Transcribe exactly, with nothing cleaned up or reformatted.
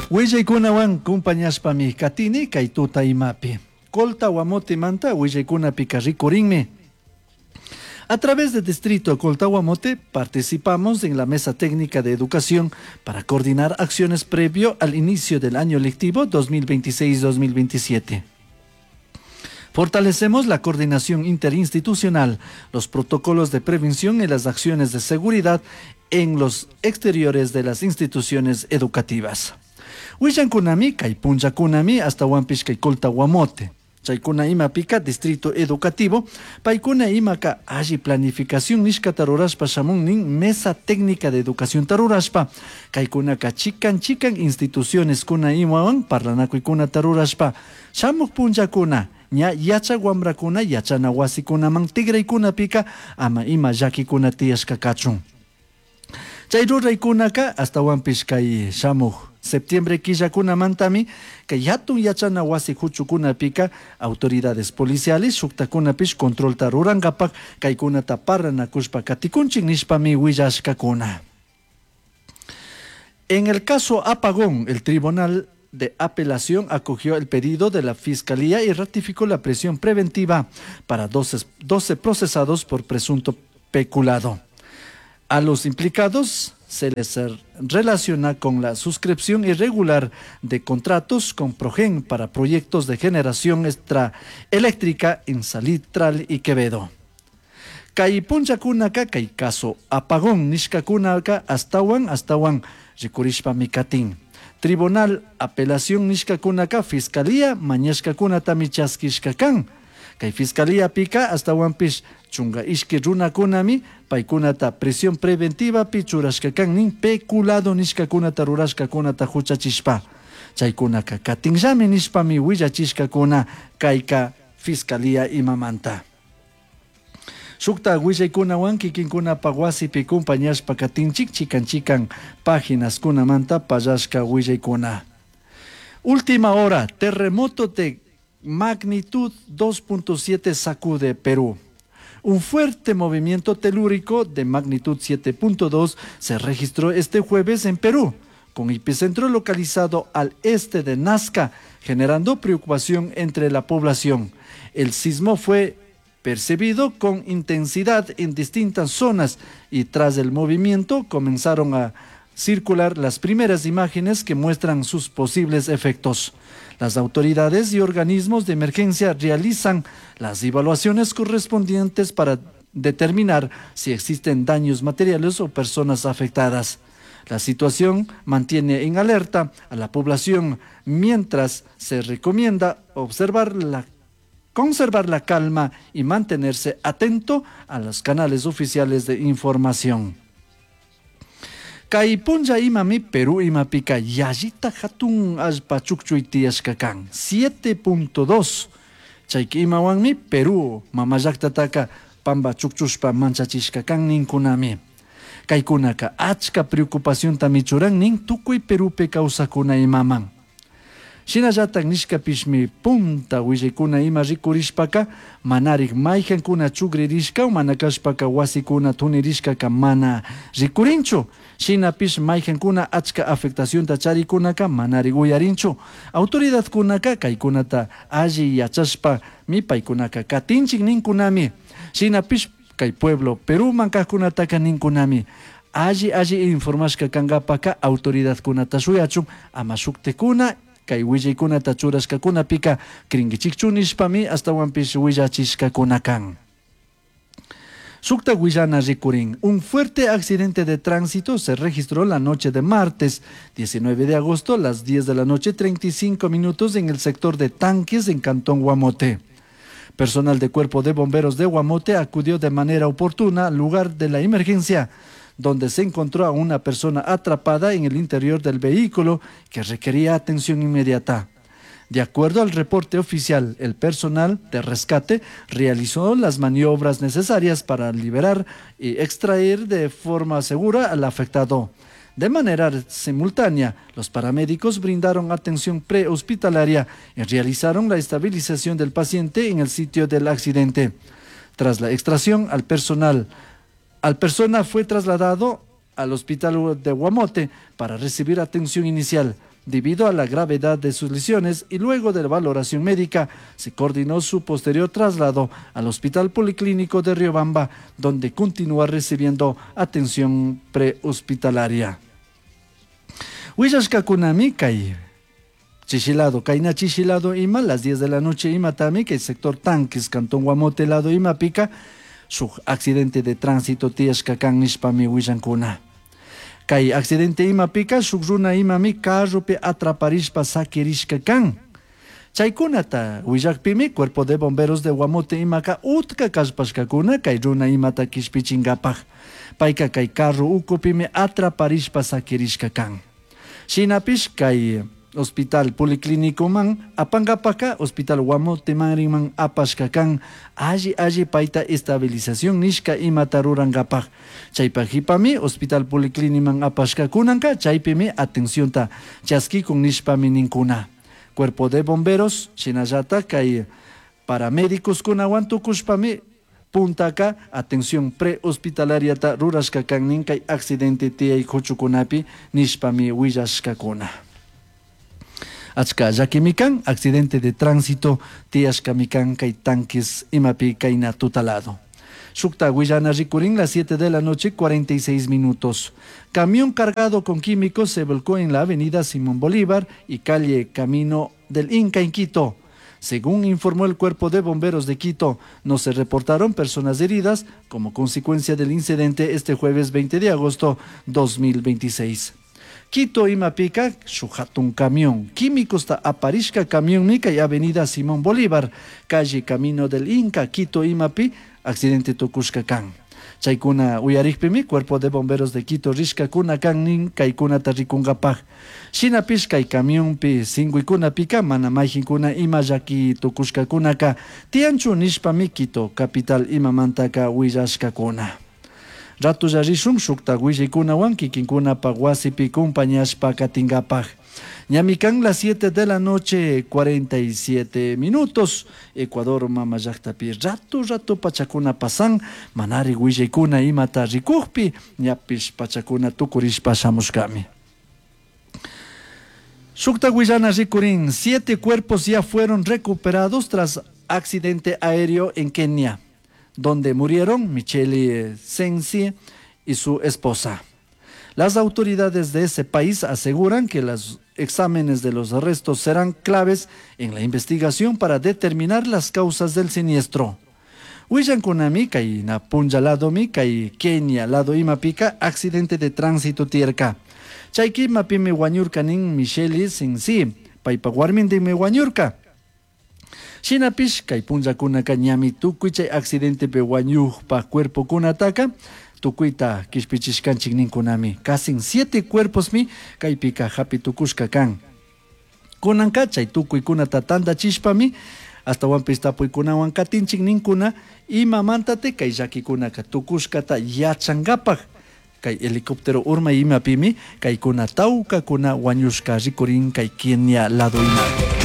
Willaykunawan kumpañashpami katini kay tuta imapi. Colta Guamote-manta willaykunapika rikurinmi. A través del distrito Colta-Guamote participamos en la mesa técnica de educación para coordinar acciones previo al inicio del año lectivo dos mil veintiséis-dos mil veintisiete. Fortalecemos la coordinación interinstitucional, los protocolos de prevención y las acciones de seguridad en los exteriores de las instituciones educativas. Willankunami, kay punllakunami, ashtahuanpish kay Colta Guamote. Chaykuna imapika distrito educativo, paykuna imaka alli planificación nishkata rurashpa shamun nin mesa técnica de educación tarurashpa, kaykunaka chikan chikan instituciones kuna imawan parlanakuykunata rurashpa, shamuj punllakuna, ña yachak wamrakuna yachana wasikunaman tikraykunapika ama ima llakikuna tiyashka kachun. Chay ruraykunaka ashtahuanpish kay shamuj septiembre killakunamantami kay hatun yachana wasi huchukunapika autoridades policiales shuktakunapish controlta rurankapak kaykunata paranakushpa katikunchik nishpami willashkakuna. En el caso Apagón, el Tribunal de Apelación acogió el pedido de la Fiscalía y ratificó la prisión preventiva para doce, doce procesados por presunto peculado. A los implicados se les relaciona con la suscripción irregular de contratos con Progen para proyectos de generación extra eléctrica en Salitral y Quevedo. Kay punllakunaka kay caso apagón nishkakunaka ashtahuan ashtahuan rikurishpami katin. Tribunal apelación nishkakunaka fiscalía mañashkakunatami chaskishka kan. Kay fiscalía pika ashtahuanpish chunga ishki runakunami paykunata prisión preventiva pi churashka kan nin peculado nishkakunata rurashkakunata huchachishpa. Chaykunaka katinllami nishpami willachishkakuna kayka fiscalía imamanta. Shukta willaykunawan kikinkunapa wasipi kumpañashpa katinchik chikan chikan páginas-kunamanta pallashka willaykuna. Última hora, terremoto de magnitud dos punto siete sacude Perú. Un fuerte movimiento telúrico de magnitud siete punto dos se registró este jueves en Perú, con epicentro localizado al este de Nazca, generando preocupación entre la población. El sismo fue percibido con intensidad en distintas zonas y, tras el movimiento, comenzaron a circular las primeras imágenes que muestran sus posibles efectos. Las autoridades y organismos de emergencia realizan las evaluaciones correspondientes para determinar si existen daños materiales o personas afectadas. La situación mantiene en alerta a la población mientras se recomienda observar la conservar la calma y mantenerse atento a los canales oficiales de información. Kay punlla imami Perú imapika yallita hatun allpa chukchuy tiyashka kan siete punto dos. Chayka imawanmi Perú mamallaktataka pamba chukchushpa manchachishka kan ninkunami. Kaykunaka achka preocupaciontami churan nin tukuy Perupi kawsakuna imaman. Shinallatak nishkapishmi punta willaykuna ima rikurishpaka manarik maykankuna chukririshka o mana kashpaka wasikuna tunirishkaka mana rikurinchu. Shinapish maykankuna achka afectacionta charikunaka manarik uyarinchu. Autoridadkunaka kaykunata alli yachashpa mi paykunaka katinchik ninkunami. Shinapish kay pueblo Peruman kajkunataka ninkunami. Alli alli informashka kankapaka autoridadkunata shuyachun, ama shuktikuna kay willaykunata churashkakunapika crinkichikchu nishpami ashtahuanpish willachishkakuna kan. Shukta willana rikurin. Un fuerte accidente de tránsito se registró la noche de martes diecinueve de agosto a las diez de la noche treinta y cinco minutos en el sector de Tanques en Cantón Guamote. Personal de cuerpo de bomberos de Guamote acudió de manera oportuna al lugar de la emergencia, donde se encontró a una persona atrapada en el interior del vehículo que requería atención inmediata. De acuerdo al reporte oficial, el personal de rescate realizó las maniobras necesarias para liberar y extraer de forma segura al afectado. De manera simultánea, los paramédicos brindaron atención prehospitalaria y realizaron la estabilización del paciente en el sitio del accidente. Tras la extracción, al personal, al persona fue trasladado al hospital de Guamote para recibir atención inicial. Debido a la gravedad de sus lesiones y luego de la valoración médica, se coordinó su posterior traslado al Hospital Policlínico de Riobamba, donde continúa recibiendo atención prehospitalaria. Willashkakunami kay chishi lado, kayna chishi lado ima, las diez de la noche ima tami, kay sector Tanques, Cantón Guamote lado ima pica, shuk accidente de tránsito tiyashka kan nishpami willankuna. Kay accidente ima pica, shuk runa imami carropi atraparishpa sakirishka kan. Chaykunata willakpimi cuerpo de bomberos de Guamote imaka utka kallpashkakuna kay runa imata kishpichinkapaj. Payka kay carro ukupimi atraparishpa sakirishka kan. Shinapish kay hospital policlínico man apankapaka hospital Guamote man apashka kan alli alli payta estabilización nishka imata rurankapaj. Chaypaj hipami hospital policlínico man apashka kunanka chaypimi atencionta chaskikun nishpami ninkuna. Cuerpo de bomberos shinallata kay paramédicos kunawan tukushpami puntaka atención prehospitalariata rurashka kan nin kay accidente tiyay kuchukunapi nishpami willashkakuna. Achka llakimi kan accidente de tránsito tiyashkami kan kay Tanques imapi kayna tutalado. Shukta willana rikurin las siete de la noche cuarenta y seis minutos. Camión cargado con químicos se volcó en la avenida Simón Bolívar y calle Camino del Inca en Quito. Según informó el Cuerpo de Bomberos de Quito, no se reportaron personas heridas como consecuencia del incidente este jueves veinte de agosto dos mil veintiséis. Quito imapica, shuhatun camión. Químicos ta aparishka camión mica y avenida Simón Bolívar, calle Camino del Inca, Quito imapi, accidente tukushka kan. Chaykuna uyarikpimi, Cuerpo de Bomberos de Quito rishka kuna kan nin kaykuna tarikungapaj. Shinapish kay camionpi singuikuna pika mana mayjinkuna ima llaki tukushkakunaka tianchu nishpami Quito capital imamantaka willashkakuna. Ratulla rishun shukta willaykunawan kikinkunapaj wasipi compañashpa katingapaj. Ñami kan las siete de la noche, cuarenta y siete minutos. Ecuador mama llaktapi ratu ratu pachakuna pasan, manari willaykuna imata rikukpi, ñapish pachakuna tukurishpa shamushkami. Shukta willana rikurin, siete cuerpos ya fueron recuperados tras accidente aéreo en Kenia, donde murieron Michele Sensi y su esposa. Las autoridades de ese país aseguran que los exámenes de los restos serán claves en la investigación para determinar las causas del siniestro. Willankunami kay na punlla ladomi kay Kenia lado imapika accidente de tránsito tierka. Chayki mapimi wañurka nin Michele Sensi, paypa warmindimi wañurka. Shinapish kay punllakunaka ñami tukuy chay accidentepi wañujpa cuerpokunataka tukuyta kishpichishkanchik ninkunami. Casi siete cuerposmi kaypika hapi tukushka kan. Kunanka chay tukuykunata tantachishpami astawanpis tapuykunawan katinchik ninkuna imamantate kay llakikunaka tukushkata yachankapak. Kay helicóptero urmay imapimi kaykuna tawkakuna wañushka rikurin kay Kenia lado imapi.